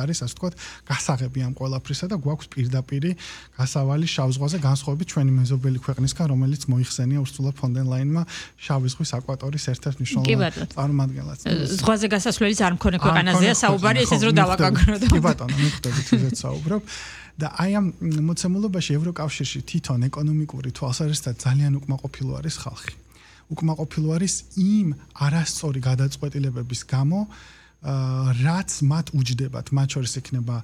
არის ასე ვთქვათ გასაღები ამ ყველაფრისა და გვაქვს პირდაპირი გასავალი შავ ზღვაზე განსხვავებით ჩვენი მეზობელი ქვეყნისგან რომელიც მოიხსენია ურსულა ფონ დერ ლაინმა შავი ზღვის აკვატორიის ერთ-ერთ მნიშვნელოვან წარმომადგენლად. ზღვაზე გასასვლელის არ მქონე ქვეყანაზეა საუბარი, ესეც რო დავაკაგროთ. კი ბატონო, მიხვდებით ისეთ საუბრობ. და აი ამ მოცემულობაში ევროკავშირში თვითონ ეკონომიკური თვალსაზრისით ძალიან უკმაყოფილო არის ხალხი. უკმაყოფილო არის იმ არასწორი გადაწყვეტილებების გამო, რაც მათ უჯდებათ, მათ შორის იქნება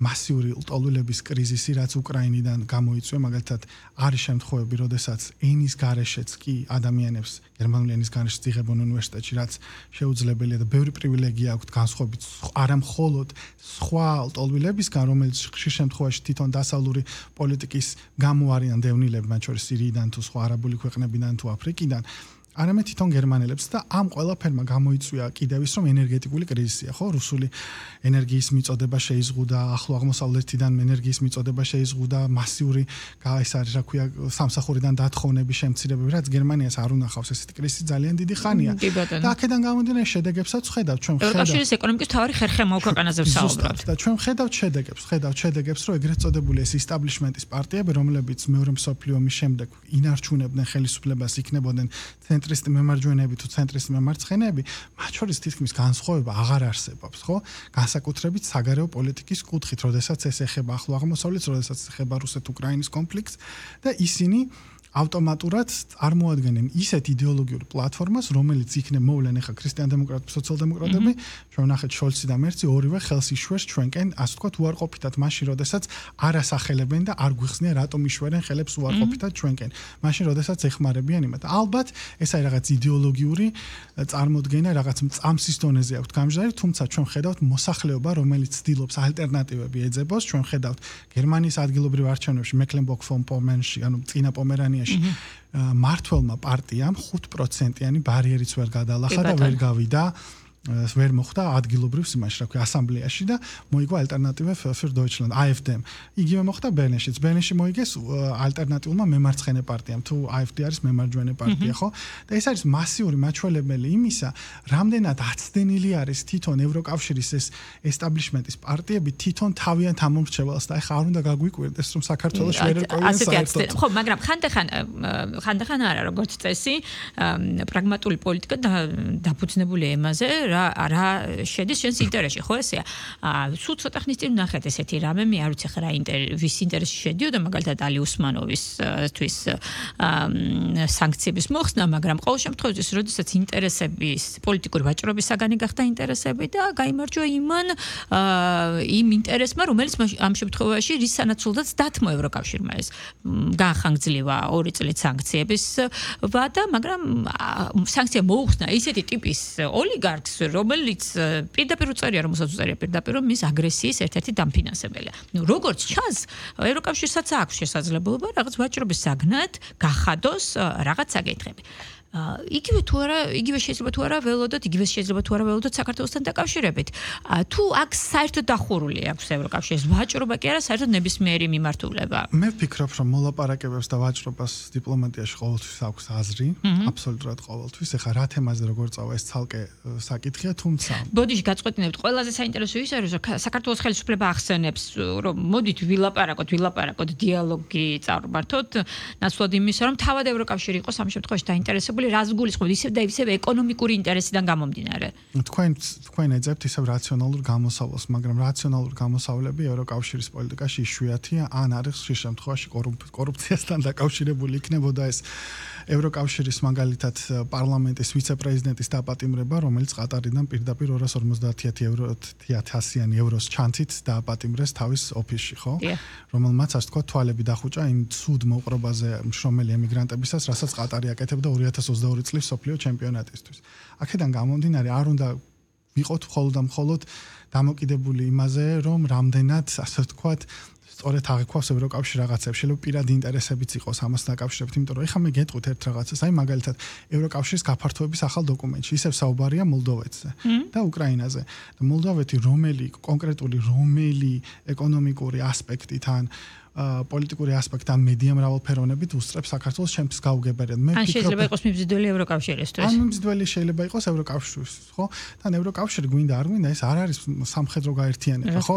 მასიური ლტოლვილების კრიზისი, რაც უკრაინიდან გამოიწვია, მაგალითად, არის შემთხვევები, როდესაც ენის გარეშეც კი ადამიანებს გერმანული ენის გარეშე იღებენ უნივერსიტეტში, რაც შეუძლებელია და ბევრი პრივილეგია აქვთ განსხვავებით არა მხოლოდ სხვა ლტოლვილებისგან, რომელიც ხშირ შემთხვევაში თვითონ დასავლური პოლიტიკის გამო არიან დევნილები, მათ შორის სირიიდან თუ სხვა არაბული ქვეყნებიდან თუ აფრიკიდან. არამედ თვითონ გერმანელებს და ამ ყველაფერმა გამოიწვია კიდევ ის რომ ენერგეტიკული კრიზისია, ხო? რუსული ენერგიის მიწოდება შეიზღუდა, ახლო აღმოსავლეთიდან ენერგიის მიწოდება შეიზღუდა, მასიური ეს არის რა ქვია სამსახურიდან დათხოვნების შემცირებები, რაც გერმანიას არ უნახავს ესეთი კრიზისი ძალიან დიდი ხანია. და აქედან გამომდინარე შედეგებსაც ხედავთ, ჩვენ ხედავთ. ევროკავშირის ეკონომიკის თავარი ხერხემალ ქვეყანაზე ვსაუბრობთ. და ჩვენ ხედავთ შედეგებს, რომ ეგრეთ წოდებული ეს ისტაბლიშმენტის პარტიები, რომლებიც მეორე მსოფლიო ომის შემდეგ ინარჩუნებდნენ ხელისუფლებას, იქნებოდნენ ცენტრისტი მემარჯვენეები თუ ცენტრისტი მემარცხენეები, მათ შორის თითქმის განსხვავება აღარ არსებობს, ხო? განსაკუთრებით საგარეო პოლიტიკის კუთხით, როდესაც ეს ეხება ახლო აღმოსავლეთს, როდესაც ეხება რუსეთ-უკრაინის კონფლიქტს და ისინი ავტომატურად წარმოადგენენ ისეთ იდეოლოგიურ პლატფორმას, რომელიც იქნებ მოვლენ ახლა ქრისტიან-დემოკრატები, სოციალ-დემოკრატები, ჩვენ ვნახეთ შოლცი და მერცი ორივე ხელს იშვეს ჩვენკენ, ასე ვთქვათ, უარყოფითად მაშინ, როდესაც არ ასახელებენ და არ გვიხსნიან, რატომ იშვერენ ხელებს უარყოფითად ჩვენკენ. მაშინ, როდესაც ეხმარებიან იმათ. ალბათ, ეს არის რაღაც იდეოლოგიური წარმოდგენა, რაღაც მწამსის დონეზე აქვთ გამჟღარი, თუმცა ჩვენ ხედავთ მოსახლეობა, რომელიც ცდილობს ალტერნატივები ეძებოს, ჩვენ ხედავთ გერმანიის ადგილობრივ არჩევნებში, მეკლენბურგ-ფონ-პომერნში, ანუ წინა პომერანიაში მართლმა პარტიამ 5%-იანი ბარიერიც ვერ გადალახა და ვერ გავიდა ვერ მოხდა ადგილობრივ სიმაში, რა ქვია, ასამბლეაში და მოიგო ალტერნატივე für Deutschland, AfD-მ. იგივე მოხდა ბერლინშიც. ბერლინში მოიგეს ალტერნატიულმა მემარცხენე პარტიამ, თუ AfD არის მემარჯვენე პარტია, ხო? და ეს არის მასიური მაჩვენებელი იმისა, რამდენად აცდენილი არის თვითონ ევროკავშირის ეს ესტაბლიშმენტის პარტიები თვითონ თავიანთ ამომრჩეველს და ეხლა არ უნდა გაგვიკვირდეს, რომ საქართველოს ვერ ერკვევიან საერთოდ. ხო, მაგრამ ხანდახან არა, როგორც წესი, პრაგმატული პოლიტიკა დაფუძნებული ემაზე რა შედის შენს ინტერესში, ხო ესეა? სულ ცოტა ხნის წინ ვნახეთ ესეთი რამე, მე არ ვიცი რა ვის ინტერესში შედიოდა, მაგალითად ალი უსმანოვისთვის სანქციების მოხსნა, მაგრამ ყოველ შემთხვევაში, როდესაც ინტერესების პოლიტიკური ვაჭრობის საგანი გახდა ინტერესები და გაიმარჯვა იმ ინტერესმა, რომელიც ამ შემთხვევაში რის სანაცვლოდაც დათმო ევროკავშირმა ეს განხანგძლива 2 წლის სანქციების ვადა, მაგრამ სანქცია მოუხსნა ისეთი ტიპის ოლიგარქს, რომელიც პირდაპირ უწერია, რომელსაც უწერია პირდაპირ, რომ მის აგრესიის ერთ-ერთი დამფინანსებელია. როგორც ჩანს, ევროკავშირსაც აქვს შესაძლებლობა რაღაც ვაჭრობის საგნად გახადოს რაღაც საკითხები. იგივე თუ არა, იგივე შეიძლება თუ არა ველოდოთ, იგივე შეიძლება თუ არა ველოდოთ საქართველოსთან დაკავშირებით. თუ აქ საერთოდ დახურული აქვს ევროკავშირის ვაჭრობა კი არა, საერთოდ ნებისმიერი მიმართულება. მე ვფიქრობ, რომ მოლაპარაკებებს და ვაჭრობას დიპლომატიაში ყოველთვის აქვს აზრი, აბსოლუტურად ყოველთვის. ეხლა რა თემაზე როგორ წავა ეს ცალკე საკითხია, თუმცა ბოდიში გაწყვეტინებთ, ყველაზე საინტერესო ის არის, რომ საქართველოს ხელისუფლება ახსენებს, რომ მოდით ვილაპარაკოთ, დიალოგი წარმართოთ, ნაცვლად იმისა, რომ თავად ევროკავშირი იყოს ამ შემთხვევაში დაინტერესებული რას გულისხმობთ, ისევ და ისევ ეკონომიკური ინტერესიდან გამომდინარე. თქვენ ეძებთ ისევ რაციონალურ გამოსავალს, მაგრამ რაციონალური გამოსავლები ევროკავშირის პოლიტიკაში იშვიათია, ან არის ხშირ შემთხვევაში კორუფციასთან დაკავშირებული იქნებოდა ეს ევროკავშირის მაგალითად პარლამენტის ვიცე-პრეზიდენტის დაპატიმრება, რომელიც ყატარიდან პირდაპირ 250.000 ევროს ჩანთით დააპატიმრეს თავის ოფისში, ხო? რომელმაც ასე თქვა თვალები დახუჭა იმ ცუდ მოყრობაზე მშრომელი ემიგრანტებისას, რასაც ყატარი აკეთებდა 2022 წლის მსოფლიო ჩემპიონატისთვის. აქედან გამომდინარე, არ უნდა ვიყოთ მხოლოდ დამოკიდებული იმაზე, რომ რამდენად ასე ვთქვათ სწორედ აღიქვავს ევროკავშირი რაღაცებს, შეიძლება პირადი ინტერესებიც იყოს ამას დაკავშირებით, იმიტომ რომ ეხლა მე გეტყვით ერთ რაღაცას, აი მაგალითად ევროკავშირის გაფართოების ახალ დოკუმენტში ისევ საუბარია მოლდოვეთზე და უკრაინაზე. და მოლდოვეთი კონკრეტული ეკონომიკური ასპექტით ან პოლიტიკური ასპექტი ან მედია მრავალფეროვნებით უსწრებს საქართველოს ჩემთვის გაუგებარად. მე ვფიქრობ, შეიძლება იყოს მიმზიდველი ევროკავშირისთვის. ან მიმზიდველი შეიძლება იყოს ევროკავშირისთვის, ხო? თან ევროკავშირი გვინდა არ გვინდა, ეს არ არის სამხედრო გაერთიანება, ხო?